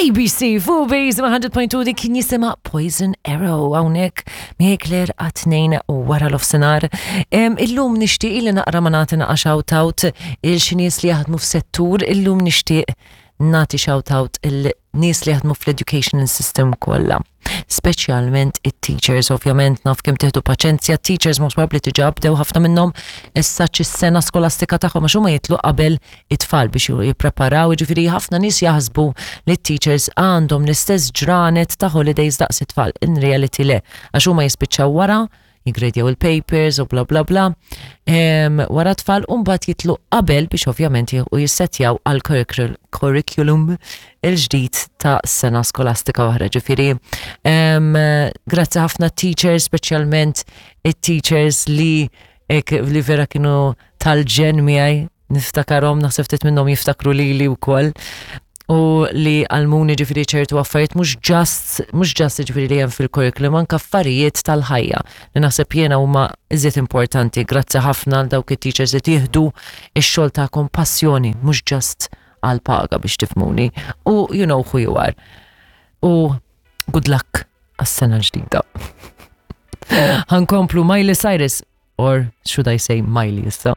ABC fuq Base 100.2 dik kien jisimha Poison Arrow hawnhekk miegħi Claire għat-tnejn u wara l-ofsinhar. Illum nixtieq li naqra ma nagħti naqa' shout out il xi nies li jaħdmu f'settur, illum nixtieq nagħti shout out il nies li jaħdmu fl-educational system kollha. Speċjalment it-teachers, ovvjament naf kemm tieħdu paċenzja, teachers most probably diġà bdew ħafna minnhom issa s-sena skolastika tagħhom għax huma jitlu qabel it-tfal biex jippreparaw, jiġifieri ħafna nies jaħsbu li t-teachers għandhom l-istess ġranet ta' holidays daqs it-tfal. In reality le, għax huma jispiċċaw wara jigredjaw il-papers u bla bla bla. Wara tfal u mbagħad jitlu qabel biex ovvjament u jissetjaw għal curriculum il-ġdid ta' sena skolastika oħra. Ġifieri, grazzi ħafna teachers, speċjalment it-teachers li li vera kienu tal-ġen miegħi niftakarhom, naħseb ftit minnhom jiftakru lili wkoll u li għalmuni ġifiri ċertu affarijiet mhux just mhux just ġifiri li hemm fil-curriculum anke affarijiet tal-ħajja li naħseb jiena huma iżjed importanti. Grazzi ħafna għal dawk it-teachers li tieħdu x-xogħol tagħkom passjoni mhux just għal paga biex tifmuni. U you know who you are. U good luck għas-sena l-ġdida. Ħankomplu Miley Cyrus or should I say Miley issa.